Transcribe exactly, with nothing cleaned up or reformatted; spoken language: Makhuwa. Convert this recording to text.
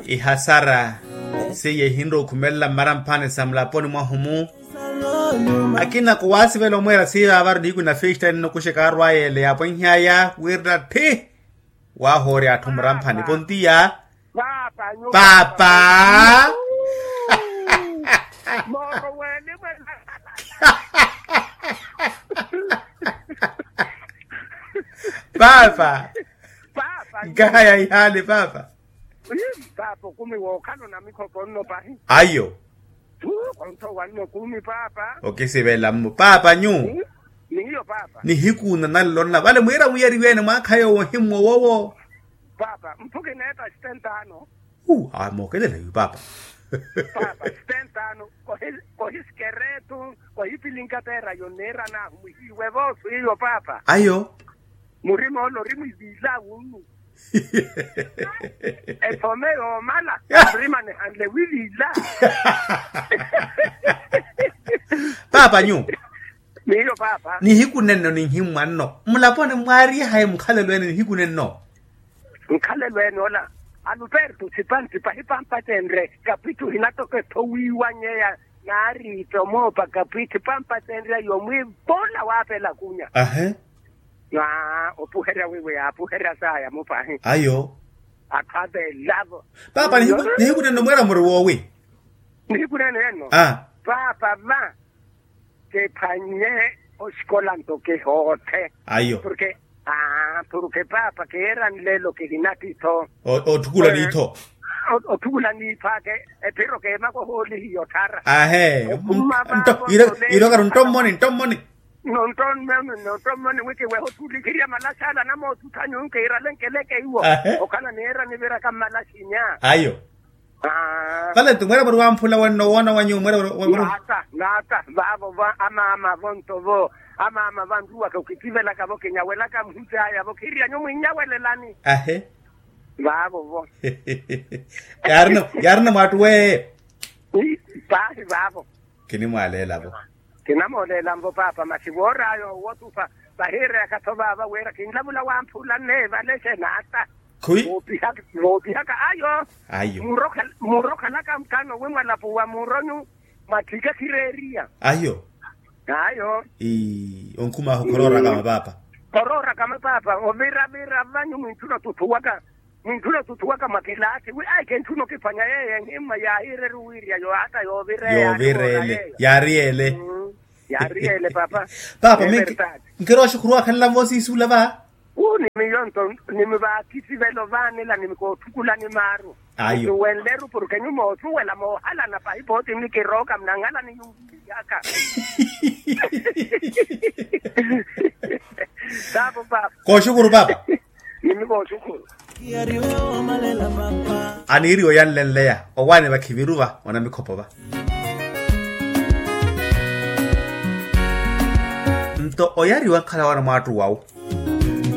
Ihasara seiya ehinre okhumelela mmaramphani sa mulaponi mwahu-mu. Akina kuwaasivela omweera seiya vaavaru nihiku na festa ennokuxeka arwaya ele yaapwenhy'aya wirina tthi. Waahoorya atthu muramphani pontiya. Paapa. Paapa. Paapa. Nkahaya ihaali paapa. Paapa okumi wookhala onamikhopo nno pahi. Ayo. Ontho wanno kumi paapa. Okisivela mmo paapa nyu. Niyo paapa. Nihiku nananlonna vale mwiira mwiyariwene mwaakha yoowo ohimmwa owowo. Paapa mphu kineetta sitentano. Uu amokelela yu paapa. Paapa sitentano. Kohi kohi sikeretu. Kohi pilinkateera yonneera naahu mwihiiwe voosu iyo paapa. Ayo. Murima ole ori mwiviila wunnu. Ethome yoomala. Murima nihanle wiviila. Paapa nyu. Niyo paapa. Nihiku nenno nihimmwa nno mulaponi mwaarihaye mukhalelo ene nihiku nenno. Nkhalelo ene ola. Aluperto sipanti pahipampatenre kapittu hinatoka ethowiiwanyeya. Naariitta omoopa kapittu pampatenre yomwiivola waapela kunya. Ahe. Naa opuherya wiiwe yaapuherya saaya mupahi. Ayo. Atthu avelavo. Paapa nihiku nenno mweera muri woowi? Nihiku nenno. Paapa va. Kephwanye oxikola nto kehoothe. Ayo. Porke paapa keera nlelo kihinattitho. Otthukula niitho. Otthukula niitho ake. Ephiro keemaka ohoolihiya otthara. Ahe. Irokaru ntommoni ntommoni. Nontommoni nontommoni wi kiweha otthulikhirya malaxala namootthuthanyu nkiirale nkeleke iwo. Okhala neera niviraka mmalaxinya. Ayo. Vale nto mweera muri wamphula wenno woona wanyu mweera. Naata naata vaavo va amaama vonto vo. Amaama vanruwaka okitivelaka vo kinyawelaka muhut'aya vo khiryanyu mwinyawelelani. Ahe. Vaavo vo. Yaarina mwaattu weeye. Paahi vaavo. Kinimwaaleela vo. Kinamooleela nvo paapa masi woor'aya owotupa. Vahiireyaka-tho vaava wira kinlavula wamphula nneevale xenaata. Khuwi. Voopihaka ayo. Ayo. Muuro okhalaka mukano wi mwalapuwa muuronyu. Mwatthiika khireeriya. Ayo. Ayo. Onkhum'ahu khoroorakama paapa. Khoroorakama paapa ovira vira vanyu mwintthuna otuthuwaka. Mwintthuna otuthuwaka mwa kilaasi wi ayi kentthuna okiphwanya yeeyo enhimma yaahireru wiirya yohata yoovireya. Yoovireya yeeyo. Yaari yeele. Yaari yeele paapa. Paapa mi nkirowa oxukhuru waakhalela voosiisuula va. Uu ni miyo nto ni mi vaakisivelo vaanela ni mi kootthukula ni maaru. Ayo. Nsuwenleru porke nyumo osuwela moohalana pahi pooti ni kirooka mnangala ni yunviyaka. Sapo paapa. Kooxukuru paapa. Ni mi kooxukuru. Aniiriwa oyanlenleya owaani vakhiviru va onamikhopo va. Nto oyariwa nkhala wana mwaattu wawu.